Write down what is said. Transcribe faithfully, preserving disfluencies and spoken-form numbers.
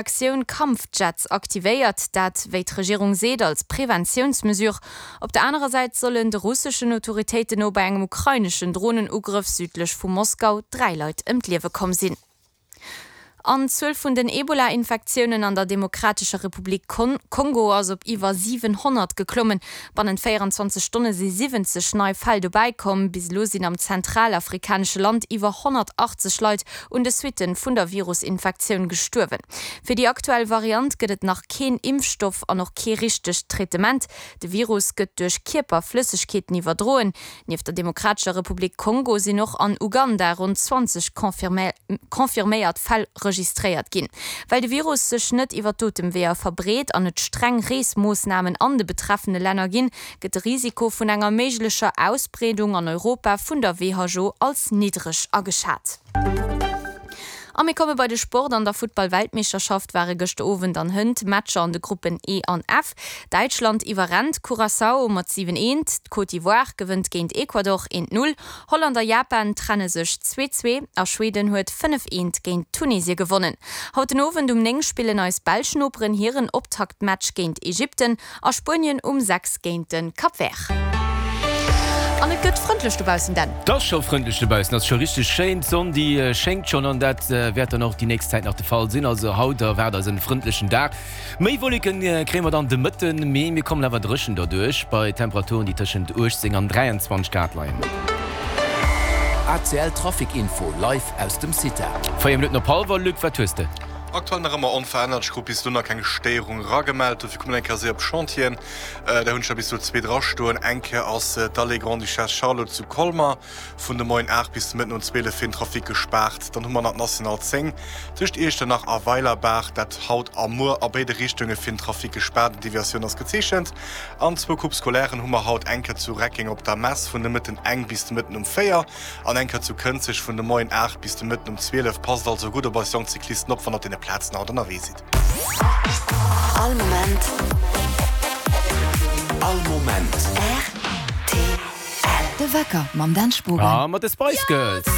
Aktioun Kampfjets aktivéiert, dat, wéi d'Regierung seet, als Preventiounsmesure. Op der anerer Säit sollen de russeschen Autoritéiten no bei engem ukraineschen Dronenugrëff südlech vu Moskau dräi Leit ëm d'Liewe komm sinn. An d'Zuel vun den Ebola-Infektiounen an der Demokratescher Republik Kongo ass op iwwer siwenhonnert geklommen. Bannent véieranzwanzeg Stonne si siwwenzeg nei Fäll dobäi komm. Bis elo sinn am zentralafrikanesche Land iwwer honnertachtzeg Leit un de Suitte vun der Virusinfektioun gestuerwen. Fir déi aktuell Variant gëtt et nach keen Impfstoff an och kee richtegt Traitement. De Virus gëtt duerch Kierperflëssegkeeten iwwerdroen. Nieft der Demokratescher Republik Kongo sinn och an Uganda ronn zwanzeg confirméiert Fäll registréiert ginn. Well de Virus sech net iwwer d'Otemweeër verbreet an et streng Reesmoossnamen an de betreffene Länner ginn, gëtt de Risiko vun enger méiglecher Ausbreedung an Europa vun der who als niddreg ageschat. A mir komme bei de Sport, An der Futtball-Weltmeeschterschaft ware gëschter Owend an hënt Matcher an de Gruppen E an F. Däitschland iwwerrennt Curaçao mat siwen, eent, d'Côte d'Ivoire gewënnt géint Ecuador eent, null, Holland a Japan trenne sech zwee, zwee a Schweden huet fënnef, eent géint Tunesie gewonnen. Haut den Owend um néng spillen eis belsch Noperen hiren Optaktmatch géint Ägypten a Spuenien um sechs géint de Cap Vert. An et gëtt frëndlech dobaussen, Dan. Et ass scho frëndlech dobaussen, ass scho richteg schéin. D'Sonn déi schéngt schonn an dat wäert dann och déi nächst Zäit nach de Fall sinn. Also haut erwaart eis en frëndlechen Dag. Méi Wolleken kréie mer dann de Mëtten, mee mir kommen awer dréchen derduerch bei Temperaturen déi tëschent uechtzéng an dräianzwanzeg Grad leien. A C L Trafic Info live aus dem CITA. Véier Minutten op hallwer, Luc, wat hues de? Aktuell nach ëmmer onverännert, ech krut bis elo nach keng Stéierung eragemellt. Dofir kommen eng Kéier séier op Chantieren. Der hunn ech der bis elo zwee drastoen. Eng Kéier ass d'Allée Grande-Duchesse Charlotte zu Colmar vun de Moien aacht bis de Mëtten um zwielef fir den Trafic gespaart. Dann hu mer nach d'National zéng tëscht Iechternach a Weilerbaach, dat haut a muer a béide Richtunge fir den Trafic gespaart. Eng Deviatioun ass gezeechent. An zwou Coupes scolairen hu mer haut, eng Kéier zu Reckeng op der Mess vun de Mëtten eng bis de Mëtten um véier an eng Kéier zu Kënzeg vun de Moien aacht bis de Mëtten um zwielef. Passt also gutt op eis jonk Cyclisten op, wann der op deene Plazen haut ënnerwee sidd. All Moment. All Moment. R T L. De Wecker mam Dan Spogen. A mat de Spice Girls.